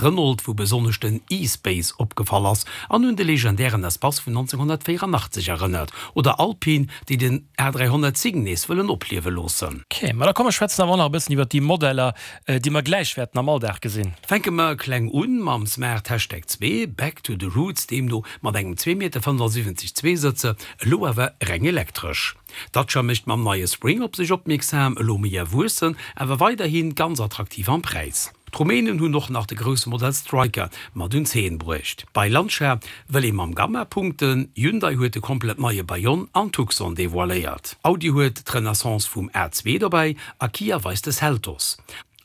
Renault, wou besonnesch den e-Space opgefall ass an un de legendären Espace vun 1984 erënnert, oder Alpine, déi den A310 nees wëllen opliewe loossen. Ok, ma da komm mer schwätzen awer och nach e bëssen iwwert déi Modeller, déi mer gläich wäerten am Alldag gesinn. Fänke mer kleng un mam Smart Hashtag 2, Back to the Roots deemno mat engem 2,75 Meter Zweesëtzer, elo awer reng elektresch. Dacia mécht mam neie Spring op sech opmierksam, elo méi erwuessen, awer weiderhi ganz attraktiv am Präis. D'Rumänen hunn och nach de grousse Modell Striker mat un d'Zeen bruecht. Bei Lancia wëll ee mam Gamma punkten, Hyundai huet de komplett neie Bayon an Tucson devoiléiert, Audi huet d'Renaissance vum A2 dobäi a Kia weist de Seltos.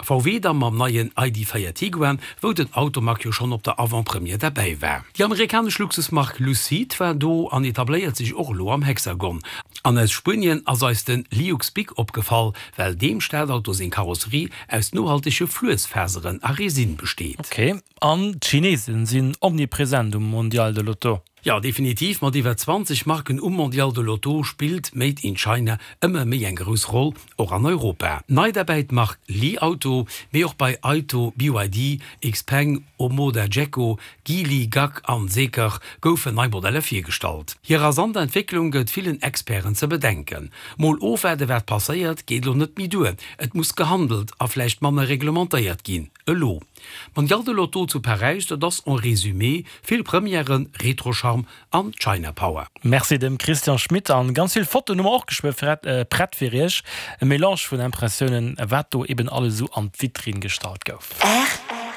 VW da mam neien ID. 4 Tiguan, wou den Automag jo schonn op der Avant-Première derbäi war. Déi amerikanesch Luxusmark Lucid war do an etabléiert sech och elo am Hexagon. An aus Spuenien ass eis de Liux Big opgefall, well deem Stadauto seng Karosserie aus nohaltege Fluessfaseren a Resin besteet. Ok, an d'Chinesen sinn omnipresent um Mondial de l'Auto. Jo, definitiv, mat iwwer 20 Marken um Mondial de l'Auto spillt Made in China ëmmer méi eng grouss Roll, och an Europa. Nei derbäi d'Mark Li Auto, mee och bei Aito, BYD, Xpeng, Omoda Jaecoo, Geely, GAC an Zeekr goufen nei Modeller virgestallt. Hir rasant Entwécklung gëtt villen Experten ze bedenken. Mol ofwaarde wat passéiert, geet elo net méi duer. Et muss gehandelt a vläicht manner reglementéiert ginn. Elo. Mondial de l'Auto zu Paräis, dat ass en résumé vill Premièren, Retro-Charme an China Power. Merci dem Christian Schmit an ganz vill Fotoen hu mer och geschwë prett fir iech. E Melange vun Impressiounen wat do eben alles esou an d'Vitrinn gestallt gouf. Rtl.